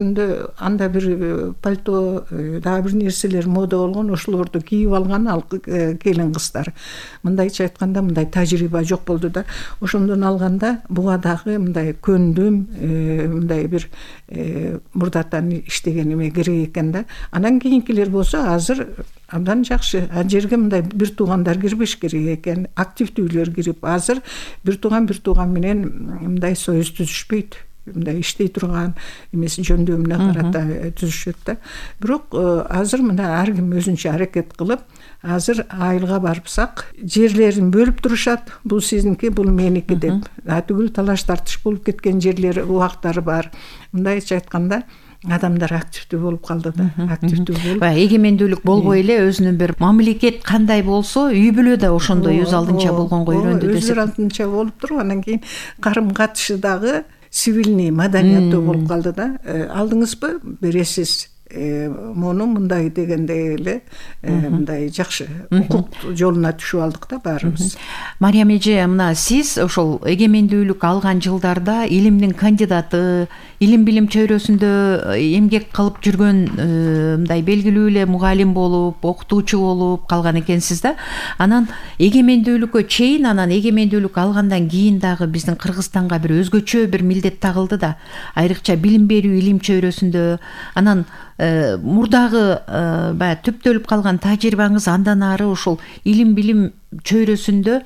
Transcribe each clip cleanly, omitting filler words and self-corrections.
Анда бир пальто, дагы бир нерселер мода болгон, ошолорду кийип алган ал келин кыздар. Мындайча айтканда мындай тажрыйба жок болду да. Ошондон алганда буга дагы мындай көндүм, мындай бир мурдатан иштеген эме керек экен да. Анан кийинкилер болсо азыр абдан жакшы. Ал жерге мындай бир туугандар кирбеш керек экен, активдүүлөр кирип, азыр бир тууган менен мындай союз түзүшпөйт. Мындай иштей турган эмеси жөндөмүнө карата түзүшөт да. Бирок азыр мына ар ким өзүнчө аракет кылып, азыр айылга барсак, жерлерин бөлүп турушат. Бул сиздинки, бул меники деп. Түгүл талаш тартыш болуп кеткен жерлер, убактары бар. Мындайча айтканда, адамдар активдүү болуп калды да. Активдүү болуп. Эгемендүүлүк болбой эле өзүнүн бир мамлекет кандай болсо, үй бүлө да ошондой өз алдынча болгонго үйрөндү десек. Өз алдынча болуп туруп, анан кийин карым катышы дагы сивилный маданияттуу болуп калды да. Алдыңызбы, бересиз муну мындай дегенде эле мындай жакшы укук жолуна түшүп алдык да баарыбыз. Мариям эже, мына сиз ошол эгемендүүлүк алган жылдарда илимдин кандидаты, илим билим чөйрөсүндө эмгек кылып жүргөн мындай белгилүү эле мугалим болуп, окутуучу болуп калган экенсиз да. Анан эгемендүүлүккө чейин, анан эгемендүүлүк алгандан кийин дагы биздин Кыргызстанга бир өзгөчө бир милдет тагылды да. Айрыкча билим берүү илим чөйрөсүндө. Анан мурдагы баягы түптөлүп калган тажрыйбаңыз андан ары ошол илим билим чөйрөсүндө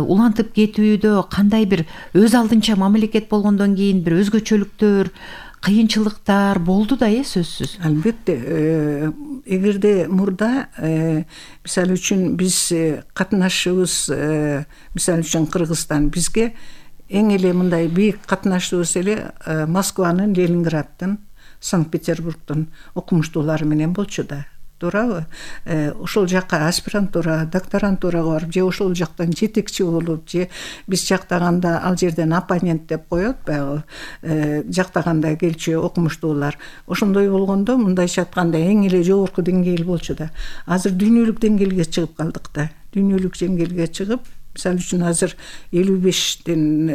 улантып кетүүдө кандай бир өз алдынча мамлекет болгондон кийин бир өзгөчөлүктөр, кыйынчылыктар болду да, сөзсүз. Албетте, эгерде мурда мисалы үчүн биз катнашыбыз, мисалы үчүн Кыргызстан бизге эң эле мындай бийик катнашыбыз эле Москванын, Ленинграддын, Санкт-Петербургдун окумуштуулары менен болчу да. Туурабы? Ошол жакка аспирантура, докторантурага барып, же ошол жактан жетекчи болуп, же биз жактаганда ал жерден оппонент деп коет, баягы жактаганда келчү окумуштуулар. Ошондой болгондо, мындайча айтканда, эң эле жогорку деңгээл болчу да. Азыр дүйнөлүк деңгээлге чыгып калдык да. Дүйнөлүк деңгээлге чыгып, мисалы үчүн азыр 55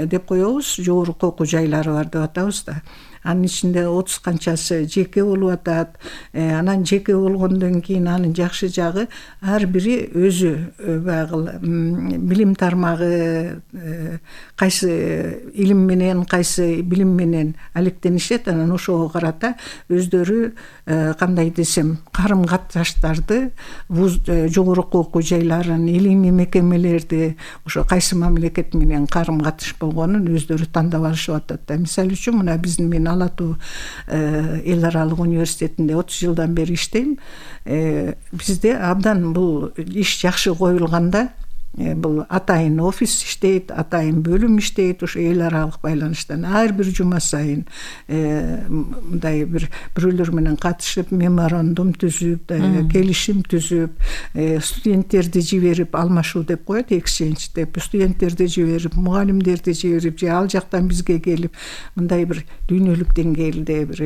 деп коебуз, жогорку окуу жайлары бар деп атабыз да. Анын ичинде 30 канчасы жеке болуп атат. Анан жеке болгондон кийин анын жакшы жагы ар бири өзү баягы билим тармагы, кайсы илим менен, кайсы билим менен алектенишет. Анан ошого карата өздөрү кандай десем, карым катыштарды, жогорку окуу жайларын, илимий мекемелерди, ошо кайсы мамлекет менен карым катыш болгонун өздөрү тандап алышып атат да. Мисалы үчүн мына биздин Ал Атуу эл аралык университетинде 30 жылдан бери иштейм. Бизде абдан бул иш жакшы коюлганда, бул атайын офис иштейт, атайын бөлүм иштейт, ошо эл аралык байланыштан ар бир жума сайын мындай бирөөлөр менен катышып, меморандум түзүп, келишим түзүп, студенттерди жиберип, алмашуу деп коет, exchange деп, студенттерди жиберип, мугалимдерди жиберип, же ал жактан бизге келип, мындай бир дүйнөлүк деңгээлде бир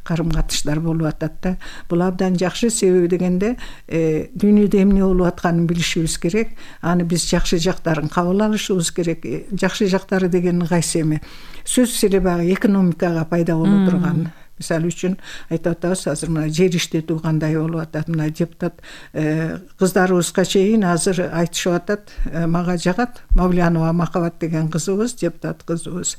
карым катыштар болуп атат да. Бул абдан жакшы, себеби дегенде дүйнөдө эмне болуп атканын билишибиз керек. Биз жакшы жактарын кабыл алышыбыз керек. Жакшы жактары деген кайсы эми? Сөзсүз эле баягы экономикага пайда боло турган. Мисалы үчүн айтып атабыз, азыр мына жер иштетүү кандай болуп атат. Мына депутат кыздарыбызга чейин азыр айтышып атат, мага жагат, Мавлянова Махабат деген кызыбыз, депутат кызыбыз,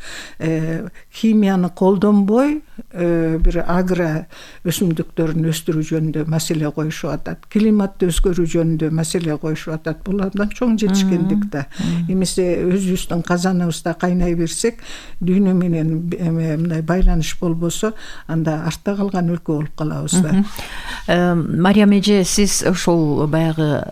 химияны колдонбой бир агро өсүмдүктөрүн өстүрүү жөнүндө маселе коюшуп атат. Климатты өзгөрүү жөнүндө маселе коюшуп атат. Бул абдан чоң жетишкендик да. Эмесе өзүбүздүн казаныбызда кайнай берсек, дүйнө менен мындай байланыш болбосо, анда артта калган өлкө болуп калабыз да. Мариям эже, сиз ошол баягы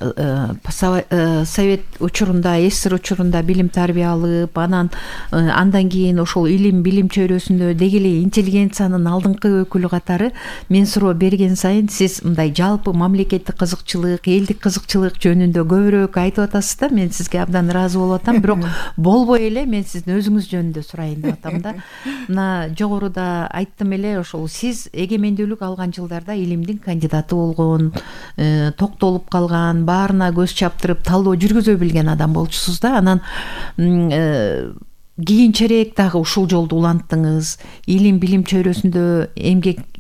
совет учурунда, СССР учурунда билим тарбия алып, андан кийин ошол илим билим чөйрөсүндө деги эле интеллигенциянын алдыңкы өкүлү катары мен суроо берген сайын сиз мындай жалпы мамлекеттик кызыкчылык, элдик кызыкчылык жөнүндө көбүрөөк айтып атасыз да. Мен сизге абдан ыраазы болуп атам, бирок болбой эле мен сиздин өзүңүз жөнүндө сурайын деп атам да. Мына жогоруда айттым эле, ошол сиз эгемендүүлүк алган жылдарда илимдин кандидаты болгон, токтолуп калган, баарына көз чаптырып талдоо жүргүзө билген адам болчусуз да. Анан кийинчерээк дагы ушул жолду уланттыңыз, илим билим чөйрөсүндө эмгек